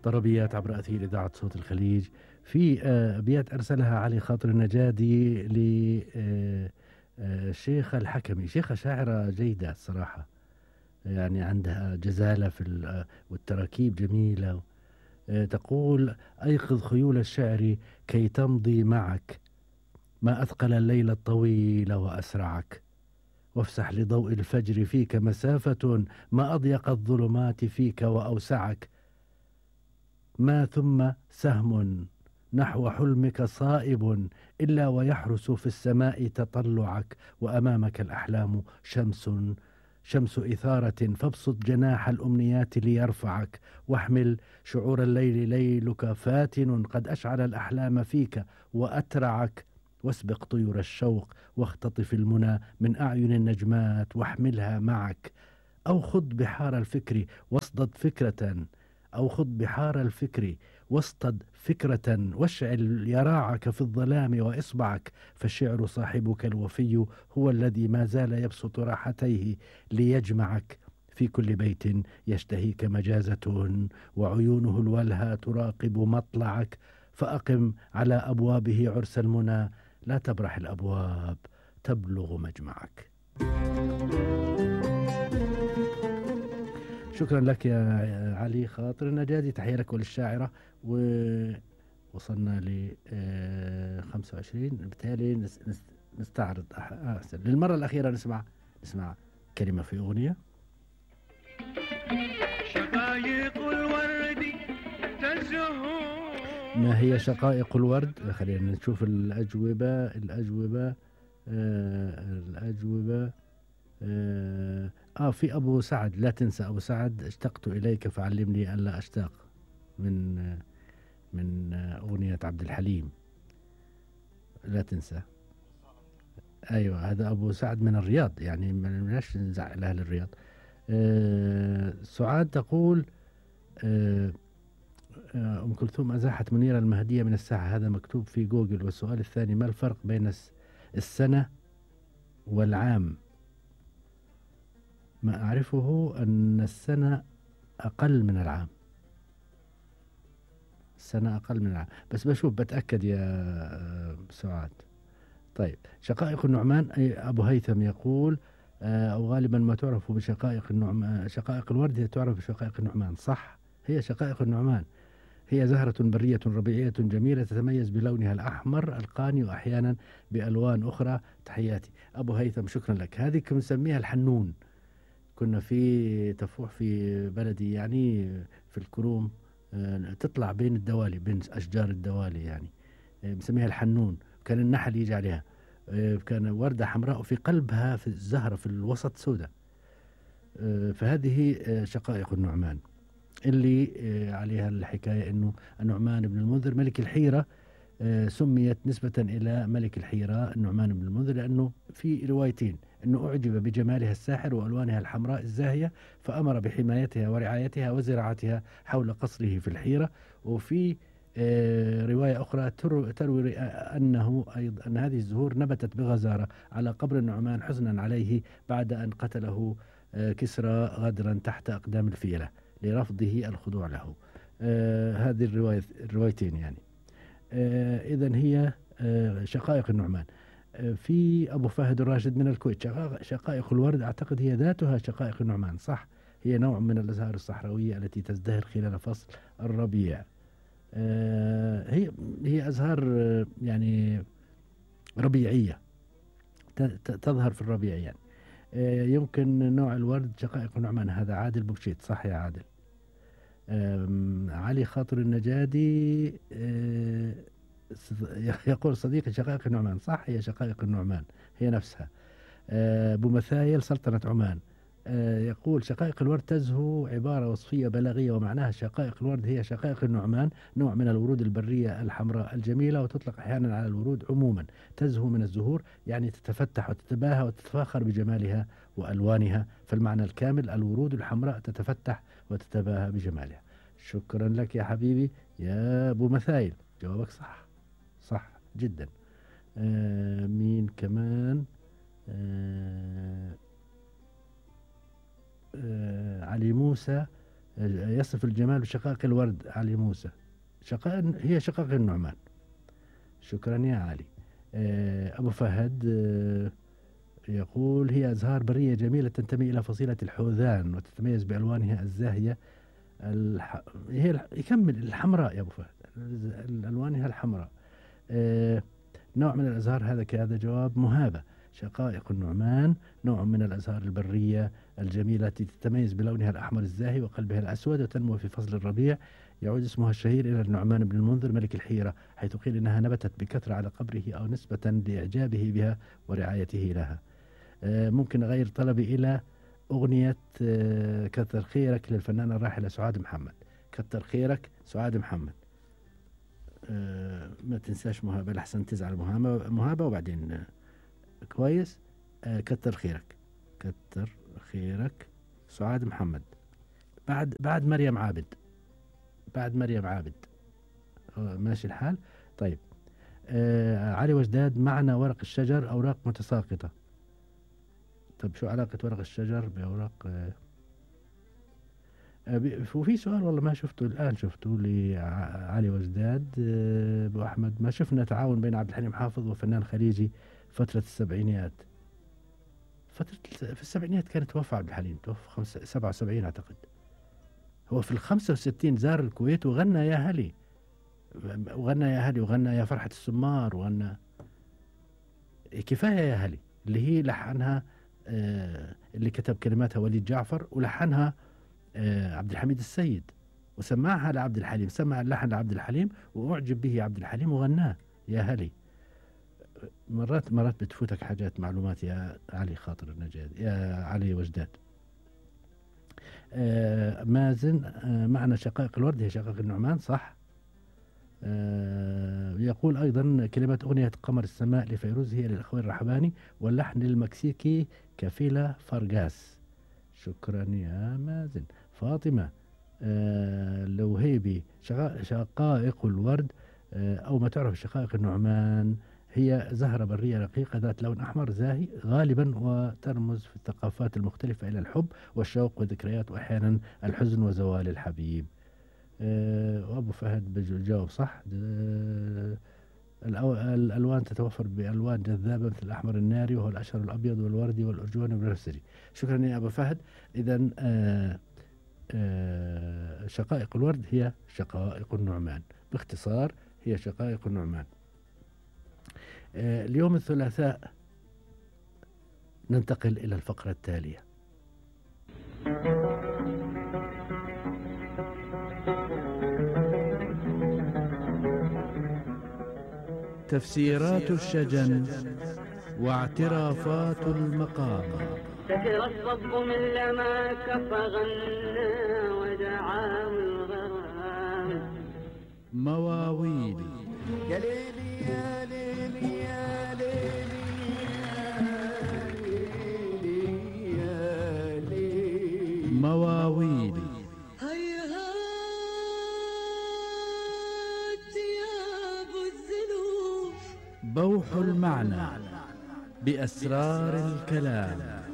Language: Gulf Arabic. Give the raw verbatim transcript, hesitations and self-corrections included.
طربيات عبر أثير إذاعة صوت الخليج. في آه، أبيات أرسلها علي خاطر النجادي للشيخة الحكمي، شيخة شاعرة جيدة الصراحة، يعني عندها جزالة في ال- آه، والتراكيب جميلة. آه، تقول: أيقظ خيول الشعر كي تمضي معك، ما أثقل الليل الطويل وأسرعك، وافسح لضوء الفجر فيك مسافة، ما أضيق الظلمات فيك وأوسعك، ما ثم سهم نحو حلمك صائب إلا ويحرس في السماء تطلعك، وأمامك الأحلام شمس شمس إثارة، فابسط جناح الأمنيات ليرفعك، واحمل شعور الليل ليلك فاتن قد أشعل الأحلام فيك وأترعك، واسبق طيور الشوق واختطف المنى من أعين النجمات واحملها معك، أو خض بحار الفكر واصطد فكرة أو خض بحار الفكر واصطد فكرة، واشعل يراعك في الظلام وإصبعك، فالشعر صاحبك الوفي هو الذي ما زال يبسط راحتيه ليجمعك، في كل بيت يشتهيك مجازة وعيونه الولهى تراقب مطلعك، فأقم على أبوابه عرس المنى، لا تبرح الأبواب تبلغ مجمعك. شكرا لك يا علي خاطر النجادي، تحية لك وللشاعرة. ووصلنا ل خمسة وعشرين، بالتالي نس- نس- نستعرض أح- أحسن للمرة الأخيرة نسمع نسمع كلمة في أغنية. شقايق الورد تزهو. ما هي شقائق الورد؟ خلينا نشوف الأجوبة الأجوبة آه الأجوبة آه, آه في أبو سعد، لا تنسى أبو سعد، اشتقت إليك فعلمني أن لا أشتاق، من آه من آه أغنية عبد الحليم، لا تنسى. أيوة هذا أبو سعد من الرياض، يعني ما لناش نزعل أهل الرياض. آه سعاد تقول: آه آه أم كلثوم أزاحت منيرة المهدية من الساحة، هذا مكتوب في جوجل. والسؤال الثاني: ما الفرق بين الس- السنة والعام؟ ما أعرفه أن السنة أقل من العام، السنة أقل من العام، بس بشوف بتأكد يا آه، سعاد. طيب، شقائق النعمان، أي أبو هيثم يقول: آه، أو غالبا ما تعرف بشقائق النعمان، شقائق الورد هي تعرف بشقائق النعمان. صح، هي شقائق النعمان، هي زهرة برية ربيعية جميلة تتميز بلونها الأحمر القاني وأحيانا بألوان أخرى. تحياتي أبو هيثم، شكرا لك. هذه كنا نسميها الحنون، كنا في تفوح في بلدي يعني في الكروم، آه، تطلع بين الدوالي، بين أشجار الدوالي يعني، آه، بنسميها الحنون. كان النحل يجي عليها، آه، كان وردة حمراء وفي قلبها في الزهرة في الوسط سوداء. آه، فهذه آه، شقائق النعمان، اللي آه، عليها الحكاية أنه النعمان بن المنذر ملك الحيرة آه، سميت نسبة إلى ملك الحيرة النعمان بن المنذر، لأنه في روايتين: أنه أعجب بجمالها الساحر وألوانها الحمراء الزاهية فأمر بحمايتها ورعايتها وزراعتها حول قصره في الحيرة. وفي آه، رواية أخرى تر- تروي أنه أيضا أن هذه الزهور نبتت بغزارة على قبر النعمان حزنا عليه بعد أن قتله آه، كسرى غدرا تحت أقدام الفيلة لرفضه الخضوع له. آه، هذه الرواية الروايتين يعني. آه إذا هي آه شقائق النعمان. آه في أبو فهد الراشد من الكويت: شقائق, شقائق الورد أعتقد هي ذاتها شقائق النعمان. صح، هي نوع من الأزهار الصحراوية التي تزدهر خلال فصل الربيع. آه هي هي أزهار آه يعني ربيعية، ت- ت- تظهر في الربيع يعني. آه يمكن نوع الورد شقائق النعمان. هذا عادل بوكشيت، صح يا عادل. آم، علي خاطر النجادي آه، صد- يقول: صديقي شقائق النعمان. صح، هي شقائق النعمان، هي نفسها. آه، أبو مثايل سلطنة عمان آه، يقول: شقائق الورد تزهو عبارة وصفية بلاغية، ومعناها شقائق الورد هي شقائق النعمان، نوع من الورود البرية الحمراء الجميلة، وتطلق أحيانا على الورود عموما. تزهو من الزهور يعني تتفتح وتتباهى وتتفاخر بجمالها وألوانها، فالمعنى الكامل: الورود الحمراء تتفتح وتتباهى بجمالها. شكرا لك يا حبيبي يا أبو مثايل، جوابك صح، صح جدا. آه مين كمان؟ آه آه علي موسى يصف الجمال بشقائق الورد. علي موسى. شقائق هي شقائق النعمان. شكرا يا علي. أبو فهد يقول هي أزهار برية جميلة تنتمي إلى فصيلة الحوذان وتتميز بألوانها الزاهية. الح... هي الح... يكمل الحمراء يا أبو فهد، ألوانها الحمراء. آه... نوع من الأزهار هذا كهذا جواب مهابة. شقائق النعمان نوع من الأزهار البرية الجميلة التي تتميز بلونها الأحمر الزاهي وقلبها الأسود وتنمو في فصل الربيع. يعود اسمها الشهير إلى النعمان بن المنذر ملك الحيرة، حيث قيل إنها نبتت بكثرة على قبره أو نسبة لإعجابه بها ورعايته لها. آه... ممكن أغير طلبي إلى أغنية آه... كتر خيرك للفنانة الراحلة سعاد محمد. كتر خيرك سعاد محمد. آه... ما تنساش مهابة لحسن تزعل مهابة, مهابة وبعدين آه... كويس. آه... كتر خيرك كتر خيرك سعاد محمد. بعد بعد مريم عابد بعد مريم عابد. آه... ماشي الحال. طيب. آه... علي وجداد معنى ورق الشجر أوراق متساقطة. طب شو علاقة ورق الشجر بأوراق؟ آه وفي سؤال والله ما شفته الآن، شفته لعلي وجداد آه أبو أحمد. ما شفنا تعاون بين عبد الحليم حافظ وفنان خليجي فترة السبعينيات. فترة في السبعينيات كان توفى عبد الحليم، توفى خمسة سبعة وسبعين أعتقد. هو في الخمسة وستين زار الكويت وغنى يا هلي وغنى يا هلي وغنى يا فرحة السمار وغنى كفاية يا هلي اللي هي لحنها آه اللي كتب كلماتها وليد جعفر ولحنها آه عبد الحميد السيد وسمعها لعبد الحليم. سمع اللحن لعبد الحليم وأعجب به عبد الحليم وغناه يا هلي. مرات مرات بتفوتك حاجات معلومات يا علي خاطر النجاد يا علي وجداد. آه مازن آه معنى شقائق الورد هي شقائق النعمان صح. آه يقول أيضا كلمات أغنية قمر السماء لفيروز هي للأخوين الرحباني واللحن المكسيكي كفيلة فرغاس. شكرا يا مازن. فاطمة آه لوهيبي شقائق الورد آه أو ما تعرف شقائق النعمان هي زهرة برية رقيقة ذات لون أحمر زاهي غالبا وترمز في الثقافات المختلفة إلى الحب والشوق والذكريات وأحيانا الحزن وزوال الحبيب. أه وأبو فهد بجاوب صح. أه الألوان تتوفر بألوان جذابة مثل الأحمر الناري وهو الأشهر الأبيض والوردي والأرجواني والبنفسجي. شكرا يا أبو فهد. إذا أه أه شقائق الورد هي شقائق النعمان، باختصار هي شقائق النعمان. أه اليوم الثلاثاء ننتقل إلى الفقرة التالية. تفسيرات الشجن واعترافات المقام. سكر الصب من لما كف غنى ودعاه الغرام. مواويل. يا ليلي يا ليلي يا ليلي يا ليلي. مواويل. بوح المعنى بأسرار الكلام.